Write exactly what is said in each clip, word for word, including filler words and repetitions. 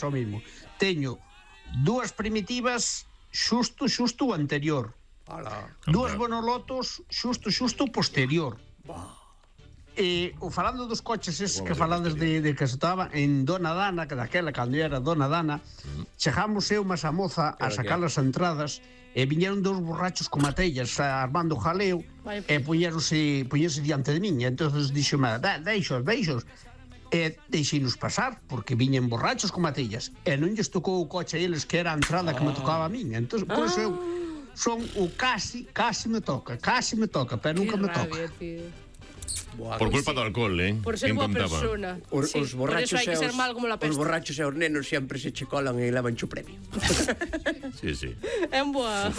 o mismo. Teño dúas primitivas xusto, xusto o anterior. Ala. Dúas bonolotos xusto, xusto o posterior. E o falando dos coches eses que falades de, de que se estaba en Dona Dana, que daquela cando era Dona Dana, chegamos eu mas a moza a sacar as entradas e viñeron dous borrachos con matellas armando jaleo e puñeronse, puñeronse diante de min. E entonces dixome, deixos, deixos. E deixinos pasar, porque viñen borrachos con matellas e non lles tocou o coche a eles, que era a entrada que me tocaba a min. Entón, por iso eu son o casi, casi me toca, casi me toca, pero nunca me toca. Por culpa do alcohol, eh? Por ser boa persona. Os, sí, os borrachos por eso hai que ser mal como la peste. Os borrachos e os nenos sempre se che colan e levan o premio. Sí, sí. É un boa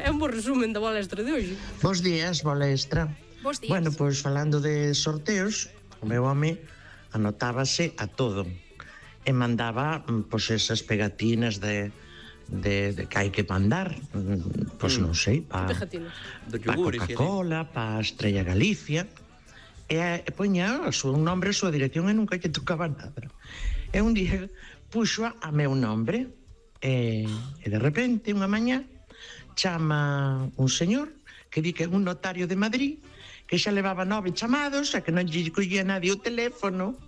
É un bo resumen da balestra de hoxe. Bos días, balestra. Bos días. Bueno, pois falando de sorteos, o meu home anotábase a todo e mandaba pois esas pegatinas de de, de que hai que mandar, pois non sei, pa, pa Coca-Cola, pa Estrella Galicia, e, e poña o seu nombre, a súa dirección, e nunca lle tocaba nada. E un día puxo a meu nombre, e, e de repente, unha mañá, chama un señor que di que é un notario de Madrid, que xa levaba nove chamados, e que non lle collía nadie o teléfono,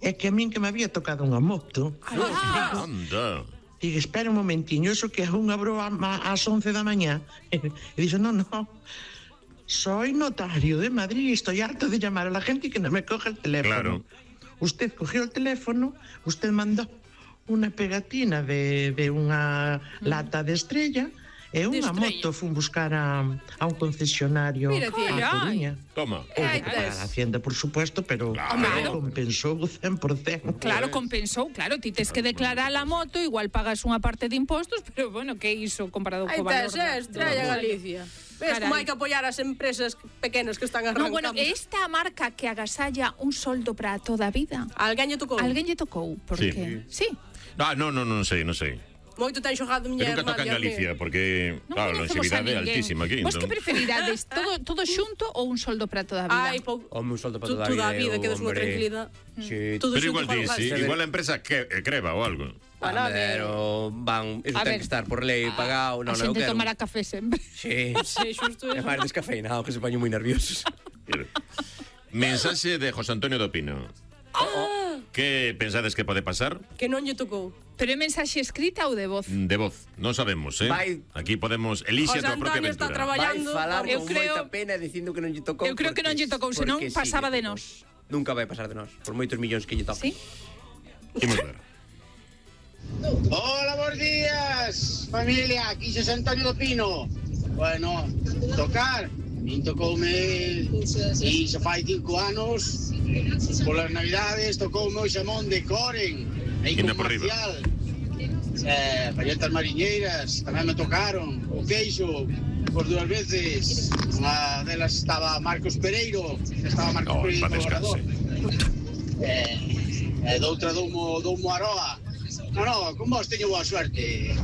e que a min que me había tocado unha moto. Ah, anda. Digo, espera un momentiño, eso que é unha broa ás once da mañá. E dixo, non, non, soy notario de Madrid, estoy harto de llamar a la gente y que no me coge el teléfono. Claro. Usted cogió el teléfono, usted mandó una pegatina de, de unha lata de Estrella e unha moto fun buscar a, a un concesionario a Coruña. Toma. Ay, para a Hacienda, por supuesto, pero claro. compensou o cen por cento. Claro, compensou, claro, ti tes que declarar a moto, igual pagas unha parte de impostos, pero bueno, que iso comparado co valor? Aí tes, Estrella Galicia. Ves como hai que apoiar as empresas pequenas que están arrancando. No, bueno, esta marca que agasalla un soldo para toda a vida. Alguén lle tocou? Alguén lle tocou, porque... Sí. sí. Ah, no, no, non sei, non sei. Moito ten xogado miña irmá. Nunca toca en Galicia, porque, non claro, a longevidade é altísima aquí. Vos que preferirades, todo, todo xunto ou un soldo para toda a vida? Ai, po... Home, un soldo para toda a vida. Toda a vida, que quedas unha tranquilidade. Sí. Pero igual ti, sí, igual a empresa que, creba ou algo. Bueno, pero van, eso ten que estar por lei pagado. A xente tomará café sempre. Sí, sí, xusto. É máis descafeinado, que se poñen moi nerviosos. Mensaxe de José Antonio do Pino. Ah. Que pensades que pode pasar? Que non lle tocou. Pero é mensaxe escrita ou de voz? De voz, non sabemos, eh? Vai. Aquí podemos elixe a tua propia aventura. Está traballando. Vai falar eu con creo... moita pena dicindo que non lle tocou. Eu creo que non lle tocou, senón pasaba de nós. Nunca vai pasar de nós, por moitos millóns que lle toca. Sí? Imos ver. Hola, bons días, familia, aquí José Antonio do Pino. Bueno, tocar, min tocoume e se fai cinco anos, polas navidades tocoume o xamón de Coren, aí con Marcial, eh, palletas mariñeiras, tamén me tocaron, o queixo, por dúas veces, unha delas estaba Marcos Pereiro, estaba Marcos oh, Pereiro colaborador, eh, e doutra doumo, doumo Aroa. No, no, con vos teño boa suerte.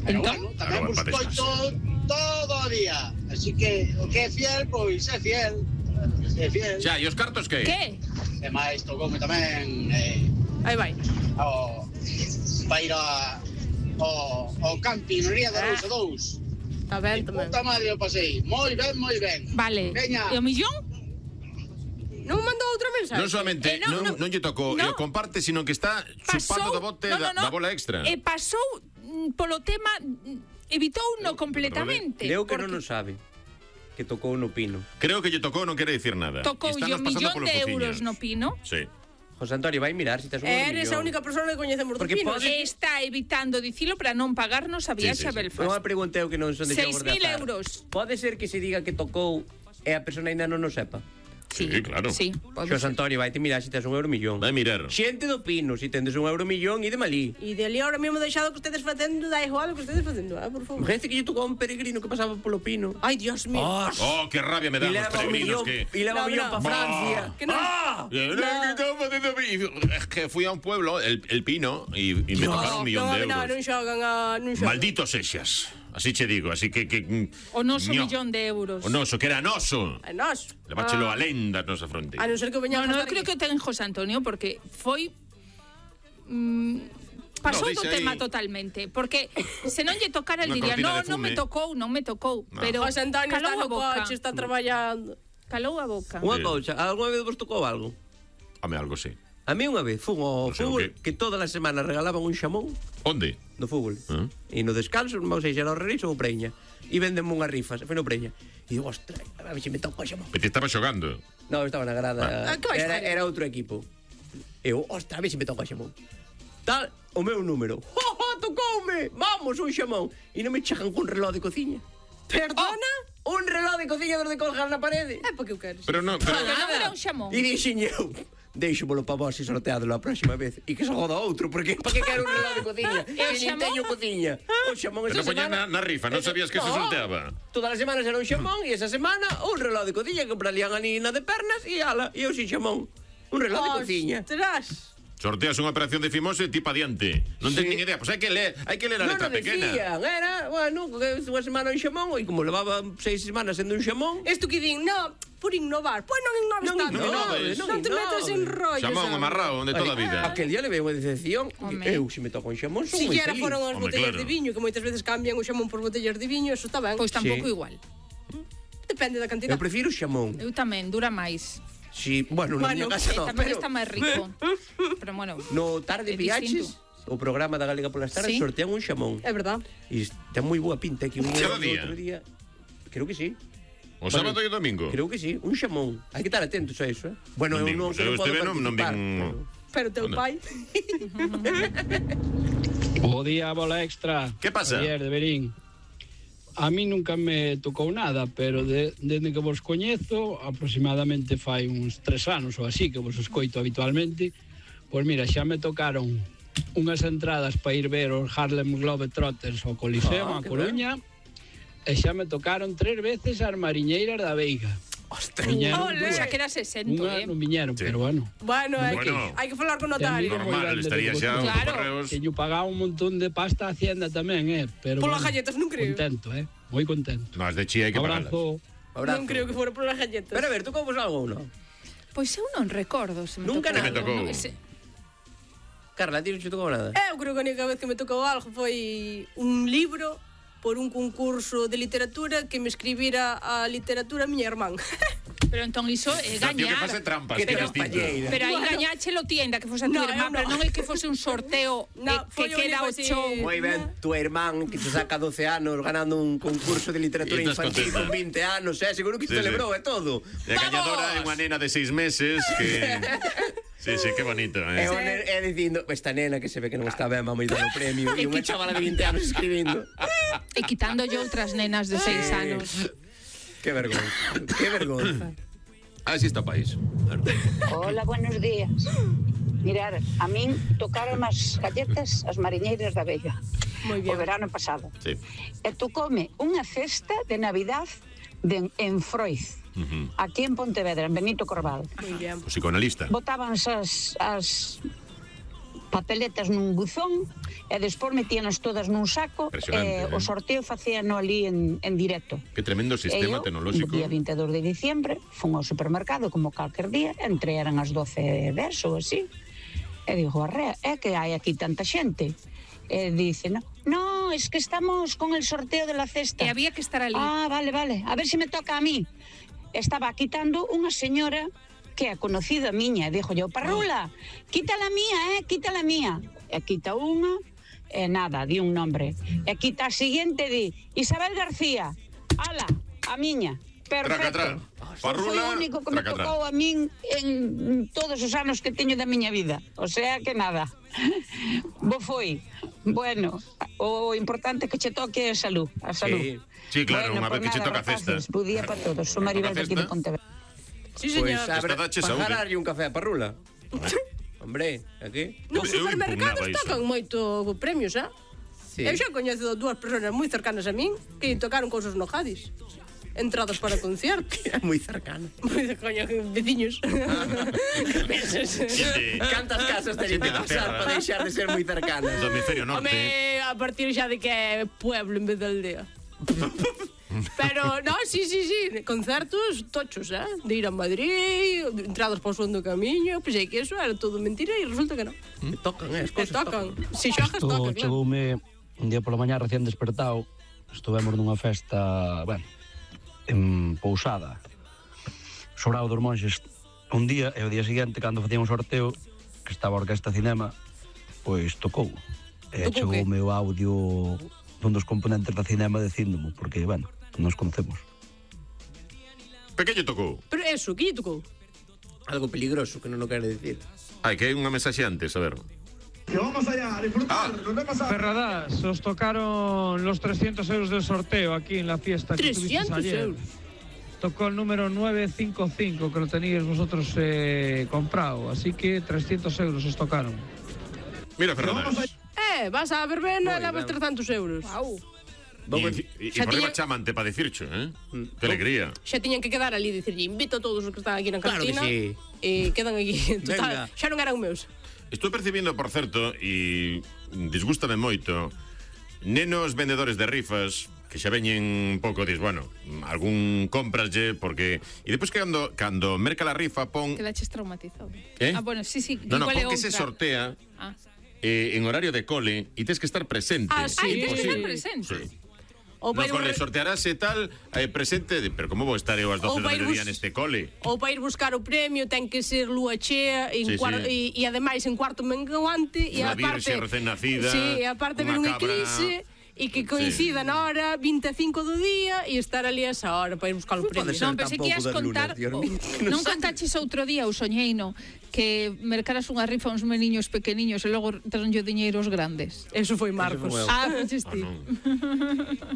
Pero bueno, tamén vos coito todo o día. Así que o que é fiel, pois é fiel. É fiel. Xa, e os cartos que? Que? E máis tocoume tamén eh, aí vai. O para ir a o, o camping no Ría da Rousa dous. Está ben tamén. Puta madre o pasei. Moi ben, moi ben. Vale. Veña. E o millón? Non mandou outra mensaxe. Non solamente eh, no, non, no, non lle tocou no. e o comparte, sino que está chupando do bote no, no, no. da, da bola extra. E pasou polo tema, evitou no completamente. Creo que non o sabe. Que tocou no Pino. Creo que lle tocou, non quere dicir nada. Tocou yo un millón de euros no Pino. Sí. José Antonio, vai mirar se tes un millón. Eres a única persona que coñecemos do Pino. Pode... Está evitando dicilo para non pagarnos a viaxe sí, sí, a Belfast. Non a pregunteu que non son de seis mil euros. Pode ser que se diga que tocou e a persona ainda non o sepa. Sí, sí, claro. Sí, Xos Antonio, vai te mirar se tes un euro millón. Vai mirar. Xente do Pino, se tendes un euro millón e de Malí. E de ali ahora mesmo deixado que ustedes facendo, da igual que ustedes facendo, eh, por favor. Gente que lle tocou un peregrino que pasaba polo Pino. Ai, Dios mío. Oh, oh que rabia me dan os peregrinos que... E leva un millón pa Francia. Que non... ¡Ah! Es que fui a un pueblo, el, el Pino, y, y me tocaron un millón de euros. No, non xogan a... Non xogan. Malditos exas. Así che digo, así que... que o noso no. millón de euros. O noso, que era noso. A noso. Leváchelo ah. a lenda nosa fronte. A non ser que veñamos... No, no, eu creo que ten José Antonio, porque foi... Mm, pasou do tema totalmente, porque se non lle tocara, el diría, no, non me tocou, non me tocou, pero José Antonio está no coche, está traballando. Calou a boca. Unha cousa, algunha vez vos tocou algo? Home, algo sí. A mí unha vez fun ao fútbol que todas as semanas regalaban un xamón. Onde? No fútbol. E no descanso, non sei se era o Reis ou o Preña. E vendeme unhas rifas, foi no Preña. E digo, ostras, a ver se me toco o xamón. Pero te estaba xogando? Non, estaba na grada. Ah, que vais Era, facer? era outro equipo. E eu, ostras, a ver se me toco o xamón. Tal, o meu número. ¡Oh, oh, tocoume! Vamos, un xamón. E non me chegan cun reloj de cociña. Perdona? Oh, un reloj de cociña dos de colgar na parede. É porque eu quero. Pero non, pero... Pero non era un xamón. E dixen eu, deixomolo para vos e sorteadelo a próxima vez. E que se joda outro, porque para que quero un reloj de cociña? E o Que nin xamón? teño cociña. O xamón Pero esa poñía semana... na, na rifa, non sabías que se No. sorteaba. Todas as semanas era un xamón e esa semana un reloj de cociña que compralían a nina de pernas e ala, e eu sin xamón. Un reloj de cociña. Ostras. Sorteas unha operación de Fimose e ti pa diante. Non Sí. ten nin idea. Pois hai que ler, hai que ler a Non letra o pequena. decían, era, bueno, que unha semana un xamón e como levaba seis semanas sendo un xamón. Isto que din, no, por innovar. Pois non innoves Non tanto. innoves, non, non te metas innoves. en rollos. Xamón sabes? amarrado de toda a vida. Aquel día levei unha decepción. Home. Eu, se me toco un xamón, son Si moi quiera feliz. foron as Home, botellas claro. de viño, que moitas veces cambian o xamón por botellas de viño, eso está ben. Pois tampouco Sí. igual. Depende da Eu cantidad. prefiro o xamón. Eu tamén, dura máis. Si, bueno, na Bueno, miña casa E no, tamén pero está máis rico. Pero bueno, no Tarde É Viaches, o programa da Galega polas Tardes, Sí. sortean un xamón. É verdad. E ten moi boa pinta que un Cada outro día? día. Creo que sí. O sábado e o domingo. Creo que sí, un xamón. Hai que estar atentos a eso, eh. Bueno, Non eu vin, non, pois que eu non podo este non- non participar. vin- Pero teu Onda. pai... Bo día, bola extra. Que pasa? Javier de Berín. A mí nunca me tocou nada, pero de, desde que vos coñezo, aproximadamente fai uns tres anos ou así, que vos escoito habitualmente, pois mira, xa me tocaron unhas entradas para ir ver os Harlem Globetrotters ao Coliseo, Ah, a que Coruña, e xa me tocaron tres veces as Mariñeiras da Veiga. Ostras. Viñeron Ole. dúas. xa que era sesenta, Unha eh. non viñeron, Sí. pero bueno. Bueno, hai, Bueno. que, hai que falar con E a mí notario. non moi Normal, grande estaría de xa os Claro. correos. Que yo pagaba un montón de pasta a Hacienda tamén, eh, pero Polas bueno, galletas non creo. contento, eh, moi contento. No, as de Chía hai que pagarlas. Abrazo. Abrazo. Non creo que fora polas galletas. Pero a ver, tocou vos algo ou non? Pois eu non recordo se me Nunca tocou nada. Me tocou. algo. Ese- Carla, ti non che tocou nada? Eu creo que a única vez que me tocou algo foi un libro por un concurso de literatura que me escribira a literatura a miña irmán. Pero entón iso é O sea, tío, que gañar. fase trampas, Que que é te distinto. palleira. Pero aí Bueno. gañáchelo ti, ainda que fose a tu No, irmán, eu pero no. non é que fose un sorteo No, eh, foi que o queda único o así. chou. Moi ben, tu irmán que te saca doce anos ganando un concurso de literatura E estás infantil contenta. con vinte anos, eh, seguro que Sí, te sí. celebrou e todo. E a gañadora é unha nena de seis meses que... Sí, sí, que bonito, E, eh? o ner, e dicindo, esta nena que se ve que non está ben, vamos a dar o premio. E unha chavala de vinte anos escribindo. E quitando yo outras nenas de seis anos. Que vergonza, que vergonza. Así está o país. Hola, buenos días. Mirar, a min tocaron as galletas as mariñeiras da Veiga Moi o bien. verano pasado. Sí. E tocoume unha cesta de Navidad de, en Froiz, Uh-huh. aquí en Pontevedra, en Benito Corval. Moi bien. O psicoanalista. Botaban as, as papeletas nun buzón e despois metíanos todas nun saco Impresionante, e eh. o sorteo facíano ali en, en directo. Que tremendo sistema E eu, tecnolóxico. o día vinte e dous de diciembre, fun ao supermercado como calquer día, entre eran as doce e dez ou así, e digo, arrea, é que hai aquí tanta xente? E dice, no, no, es que estamos con el sorteo de la cesta. E había que estar ali. Ah, vale, vale, a ver se me toca a mí. Estaba quitando unha señora que é conocida miña, e dixo yo, Parrula, quita la mía, eh, quita la mía. E quita unha, e nada, di un nombre. E quita a siguiente, di, Isabel García, ala, a miña. Perfecto. Traca, tra. Foi Parrula, o único que me traca, tra. tocou a min en todos os anos que teño da miña vida. O sea que nada. Bo foi. Bueno, o importante é que che toque a salud, a salud. Sí. Sí, claro, Bueno, unha vez pues que che nada, toca a cesta. rapaces, bo día para todos. Son Maribel de aquí de Toca a Pontevedra. Sí, Pois señor. a ver, Esta dache para saúde. darlle un café a Parrula. Hombre, aquí? Nos Eu supermercados impugnaba iso. tocan moito premios, eh? Sí. Eu xa coñezo dúas persoas moi cercanas a min que lle tocaron cousas no Jadis. Entradas para conciertos. É moi cercano. Moi de coño, veciños. Que pensas? Xente- Cantas casas teñen Xente que da pasar terra. para deixar de ser moi cercanas? Do hemisferio norte. Home, a partir xa de que é pueblo en vez de aldea. Pero, no, sí, sí, sí, concertos tochos, eh? De ir a Madrid, entradas para o son do camiño, pensei que eso era todo mentira e resulta que non. Te tocan, eh, as Te cosas tocan. Si xogas, Isto toca, claro. chegoume un día pola mañá recién despertado. Estuvemos nunha festa, bueno, en Pousada, Sobrado dos Monxes, un día, e o día seguinte, cando facíamos sorteo, que estaba a Orquesta Cinema, pois tocou. E Tocou chegoume o audio dun dos componentes da Cinema dicíndomo, porque, bueno, nos conocemos. Pequeño tocou. Pero eso, que lle tocou? Algo peligroso, que non o quere decir. Ai, que hai unha mensaxe antes, a ver. Que vamos allá a disfrutar, nos vemos a... Ferradas, os tocaron los trescientos euros del sorteo aquí en la fiesta que tuvisteis trescientos ayer. euros. Tocó el número nueve cinco cinco, que lo teníais vosotros eh, comprado, así que trescientos euros os tocaron. Mira, Ferradas. Eh, vas a verbena e levas ben. trescentos euros. Wow. E Xa por riba tiña- chamante para dicircho, eh? Que alegría. Xa tiñan que quedar ali e dicirlle, invito a todos os que están aquí na Claro que cantina. sí. E quedan aquí. Total, Venga. xa non eran meus. Estou percibindo, por certo, e disgústame moito, nenos vendedores de rifas que xa veñen un pouco, dis, bueno, algún compraslle, porque... E depois que cando, cando merca la rifa pon... Quedaches traumatizado. Eh? Ah, bueno, sí, sí. No, no, igual é pon que se outra. sortea Ah, eh, en horario de cole e tens que estar presente. Ah, sí. Ai, tens que estar Sí. presente. Sí. Ou No para ir, cole bus- sortearase tal, eh, presente, de, pero como vou estar eu ás doce Ou da vai mediodía bus- neste cole? ou para ir buscar o premio ten que ser lúa chea en Sí, cuar- sí. E, e ademais en cuarto menguante e Unha aparte virxe recén nacida, sí, e aparte ver unha un cabra. eclipse e que coincida na hora vinte e cinco do día e estar ali a esa hora para ir buscar o premio. Non, pensei que ias contar o- Non contaches outro día o soñeino que mercaras unha rifa a uns meniños pequeniños e logo tronlle o diñeiro aos grandes. Eso foi Marcos. foi eu. Ah, foches ti.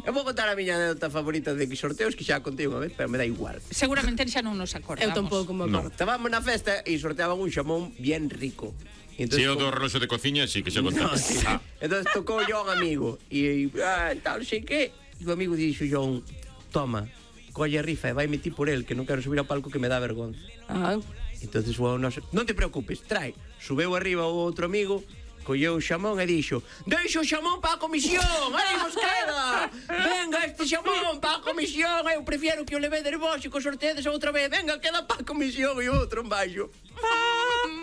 Eu vou contar a miña anécdota favorita de que sorteos que xa contei unha vez, pero me dá igual. Seguramente xa non nos acordamos. Eu tampouco me No. acordo. Estábamos na festa e sorteaban un xamón bien rico. E Si entonces, é o do reloxo de cociña, sí, que xa contaba. Ah, entonces tocou yo a un amigo e, ah, tal, sei que, e o amigo dixo John, toma, colle a rifa e vai meter por el, que non quero subir ao palco que me dá vergonza. Ah, Entonces, o noso, non te preocupes, trae. Subeu arriba o outro amigo, colleu o xamón e dixo, deixo o xamón para a comisión, aí vos queda. Venga, este xamón para a comisión, eu prefiero que o levedes vos e que o sorteedes outra vez. Venga, queda para a comisión e o outro en baixo.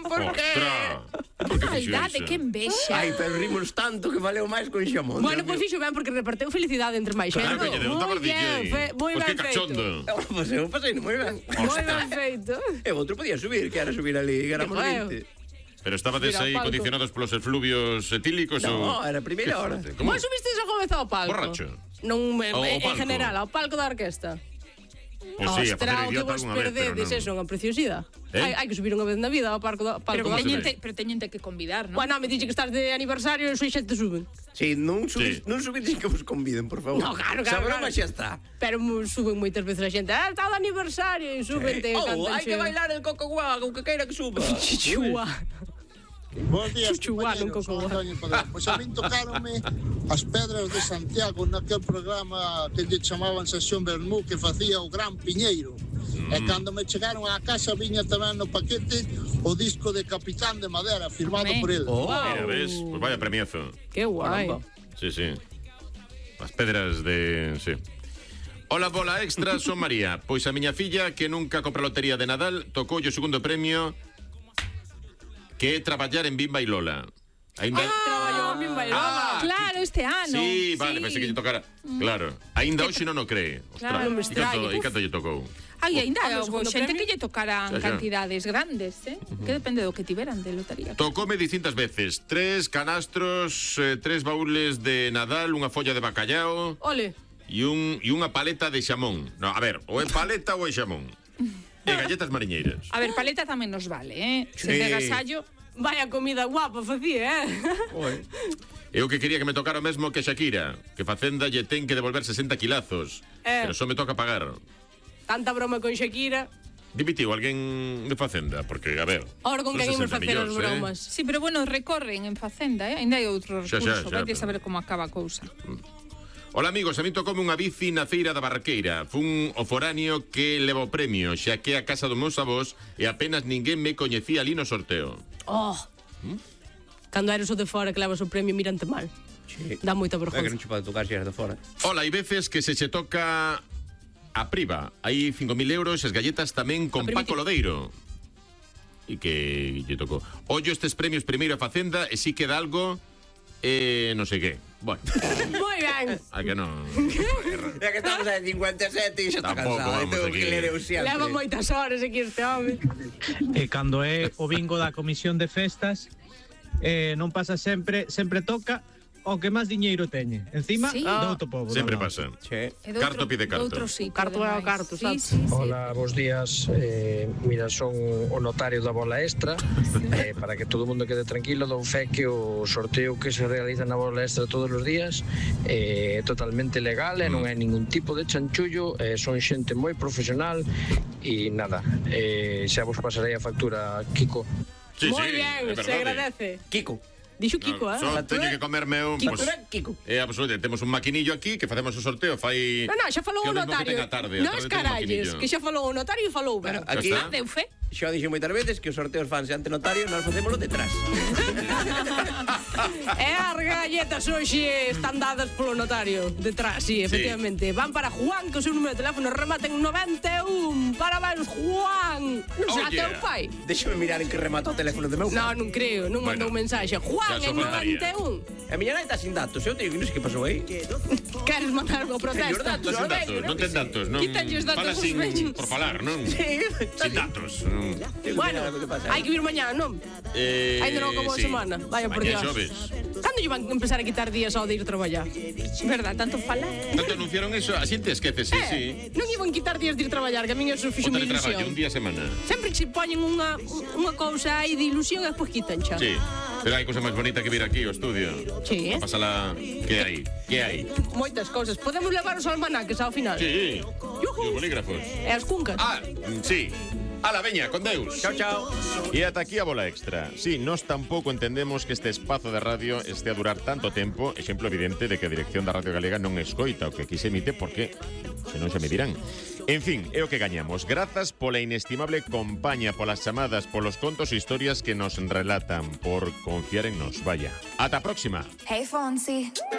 Por que? Por que Que fixo maldade, iso? que envexa. Ai, pero rimos tanto que valeu máis con xamón. bueno, Dios pois mío. fixo ben porque reparteu felicidade entre máis xente. Claro que lle deu, estaba Moi ben, D J. fe- moi Pois ben que feito. cachondo. Pois eu pasei moi ben. Moi ben feito. E o outro podía subir, que era subir ali, que éramos Que feo. vinte. Pero estabades Mira, aí palco. condicionados polos efluvios etílicos No, ou... era a primeira Que hora. forte. Como? Vos subisteis algunha vez ao palco? Borracho? Non, en, Ao- ao en palco? general, ao palco da orquesta. Pois sí, a Ostras, facer o que idiota vos algunha vez, pero perdedes, non. eso é unha preciosidade. Eh? Hai, hai que subir unha vez na vida ao palco da, palco Pero, da que teñente, pero teñente que convidar, non? Bueno, me dixe que estás de aniversario e sois xente suben. Sí, non subís, Sí. non subís sin que vos conviden, por favor. No, claro, claro, Xa broma claro. xa está. Pero mu- suben moitas veces a xente. Ah, está de aniversario e suben, te Oh, cantan. hai que bailar el coco guá, o que queira que suba. Chichua. Bos días, Chuchuá, non compañeros. coco. Son Antonio Padrón. Pois a min tocaronme as pedras de Santiago naquel programa que lle chamaban Sesión Bermú que facía o Gran Piñeiro. E cando me chegaron á casa viña tamén no paquete o disco de Capitán de Madera firmado Home. por el. Oh, Mira, ves? Pois vaya premiazo. Qué guai. Sí, sí. As pedras de... sí. Hola, bola extra, son María. Pois a miña filla, que nunca compra lotería de Nadal, tocou o segundo premio, que é traballar en Bimba e Lola. Ainda... Traballou en Bimba e Lola. Claro, este ano. Sí, vale, pensei que lle tocara. Claro, aínda hoxe non o cree. Claro, non me e canto, extraña. e canto lle tocou? Ai, ainda Ah, no houve segundo xente premio? que lle tocaran Xa, xa. cantidades grandes, eh? Que depende do que tiveran de lotería. Tocoume distintas veces. Tres canastros, eh, tres baúles de Nadal, unha folla de bacallao Ole. e, un, e unha paleta de xamón. No, a ver, ou é paleta ou é xamón. E galletas mariñeiras. A ver, paleta tamén nos vale, eh? Se Sí. de agasallo... Vaya comida guapa facía, eh? Eu que quería que me tocara o mesmo que Shakira, que Facenda lle ten que devolver sesenta kilazos. Eh. Pero só me toca pagar. Tanta broma con Shakira. Dimitiu alguén de Facenda, porque, a ver... Ahora con son quen imos sesenta facer as millóns, bromas. Sí, pero bueno, recorren en Facenda, eh? Ainda hai outro Xa, recurso, xa, xa, vai pero- saber como acaba a cousa. Hola amigos, a mí tocoume unha bici na feira da Barqueira. Fun o foráneo que leva o premio, xa que a casa dos meus avós e apenas ninguén me coñecía ali no sorteo. Oh. Cando eres o de fora que levas o premio mirante mal. Sí. Dá moita É que non vergonza. che pode tocar xe de fora. Hola, hai veces que se che toca a Priva. Hai cinco mil euros, as galletas tamén con Paco Lodeiro. E que lle tocou. Ollo estes premios primeiro a Facenda e si queda algo, eh, non sei que. Bueno. Moi ben. A que non? Ya que estamos en cincuenta e sete e xa está Tampouco cansado. vamos Tengo aquí. que ler eu sempre. Leva moitas horas aquí este home. E cando é o bingo da comisión de festas, eh, non pasa sempre, sempre toca o que máis diñeiro teñe. Encima, Sí. do outro pobo. Sempre do lado. pasa. Che. E do Carto outro- pide carto. do outro sitio, Carto é o ademais. carto, Sí, sabes? sí, sí. Hola, bos días. Eh, mira, son o notario da bola extra. Eh, para que todo o mundo quede tranquilo, don fe que o sorteo que se realiza na bola extra todos os días eh, é totalmente legal e non é ningún tipo de chanchullo. Eh, son xente moi profesional e nada, eh, xa vos pasarei a factura, Kiko. Sí, Moi sí, ben, é se verdade. agradece. Kiko. Dixo Kiko, eh? Só teño que comerme un... Kiko, Pues, Kiko. é absolutamente. Temos un maquinillo aquí que facemos o sorteo. Fai... Non, non, xa falou que o o mesmo que notario. ten a tarde. A Non tarde ten un escaralles, maquinillo. que xa falou o notario e falou ben. Aquí Ya está. Deu fe? xa dixo moitas veces que os sorteos fanse ante notario, nós facémoslo detrás. E as galletas hoxe están dadas polo notario. Detrás, sí, efectivamente. Van para Juan, que o seu número de teléfono remata en noventa e un. Parabéns, Juan. Non será Oh, teu yeah. pai? Déxame mirar en que remata o teléfono de meu pai. Non, non creo, non mandou mensaxe. Juan en noventa e un. A miña nai está sin datos, eu teño que non sei que pasou aí. Queres mandar o protesta? Señor datos, Sin datos, non ten datos. Non Quítanlle os datos fala aos sin, vellos. por falar, non? Sí. Sin datos. non. Bueno, hai que vir mañá, non? Eh, Ainda non acabou a sí. semana. Vaya por Mañá Dios. xoves. Cando lle van empezar a quitar días ao de ir traballar? Verdad, tanto falar. Tanto anunciaron eso, a xente esquece, sí, sí. Eh, non iban quitar días de ir traballar, que a min eso O fixo unha teletraballo, ilusión. un día a semana. Sempre que se poñen unha, unha cousa aí de ilusión e despois quitan xa. Sí. Pero hai cousa máis bonita que vir aquí ao estudio. Sí. A pasala... Que hai? Que hai? Moitas cousas. Podemos levar os almanaques ao final. Sí. E os bolígrafos. E as cuncas. Ah, sí. Ala, veña, con Deus. Chao, chao. E ata aquí a bola extra. Sí, nós tampouco entendemos que este espazo de radio este a durar tanto tempo, exemplo evidente de que a dirección da Radio Galega non escoita o que aquí se emite porque senón xa me dirán. En fin, é o que gañamos. Grazas pola inestimable compañía, polas chamadas, polos contos e historias que nos relatan, por confiar en nos. Vaya. Ata a próxima. Hey, Fonzie.